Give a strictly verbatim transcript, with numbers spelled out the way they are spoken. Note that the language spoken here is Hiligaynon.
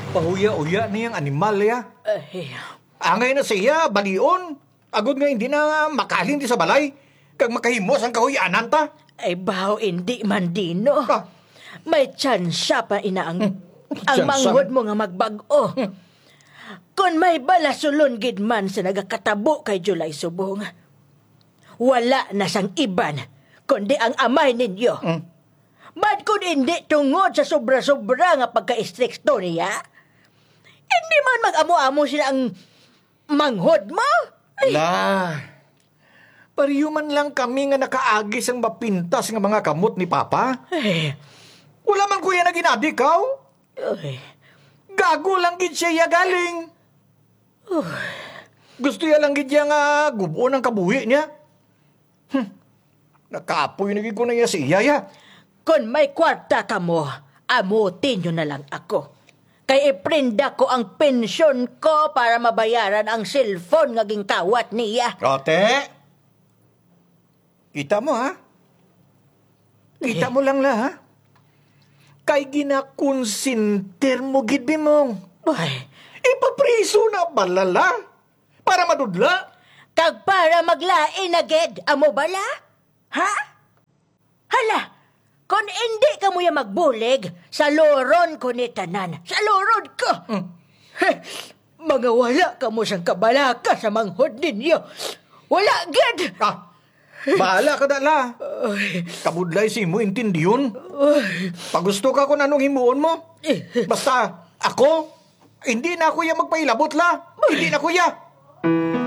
Pahuya-uya niyang animal, ya. Ay, Angay na siya, balion. Agod nga hindi na makalin di sa balay, kag makahimo sang kahuy-anan ta. Ay, baho, hindi man, Dino. Ah. May tsansa pa ina ang, Hmm. ang Tsansa? manghod mo nga magbag-o. Hmm. Kon may balasulon gid man sa nagakatabo kay July Subong, wala na sang iban kundi ang amay ninyo. Hmm. Bad kon hindi tungod sa sobra-sobra nga pagka-istrikto niya, hindi man mag-amo-amo sila ang manghod mo? Ay. La, pareho man lang kami nga nakaagi sang mapintas nga mga kamot ni Papa. Eh. Wala man ko iya nagin-adikaw. Ay. Gago lang gid siya iya galing. Uy. Gusto iya lang gid iya nga gub-on ang kabuhi niya. Hmm. Nakapoy na gid ko na iya sa iya, ya. Kon may kwarta kamo, amuti nyo na lang ako. Kay iprenda ko ang pensyon ko para mabayaran ang cellphone nga ginkawat niya. Ate, kita mo, ha? Kita Eh. mo lang la, ha? Kay ginakonsintir mo gid, Bimong. Ay. Ipapriso na bala la? Para madudla? Kag para maglain na gid, amo bala? Ha? Hala, kon indi kamo ya magbulig, saluron ko ni tanan. Saluron ko! Hmm. Heh, mga wala kamo sang kabalaka sa manghod ninyo. Wala gid! Ah, bahala ka, da, la. Ay. Kabudlay sa imo intindihon. Ay. Pagusto ka kung anong himuon mo. Eh. Basta, ako, hindi na ako ya magpailabot, la. Hindi na ako ya.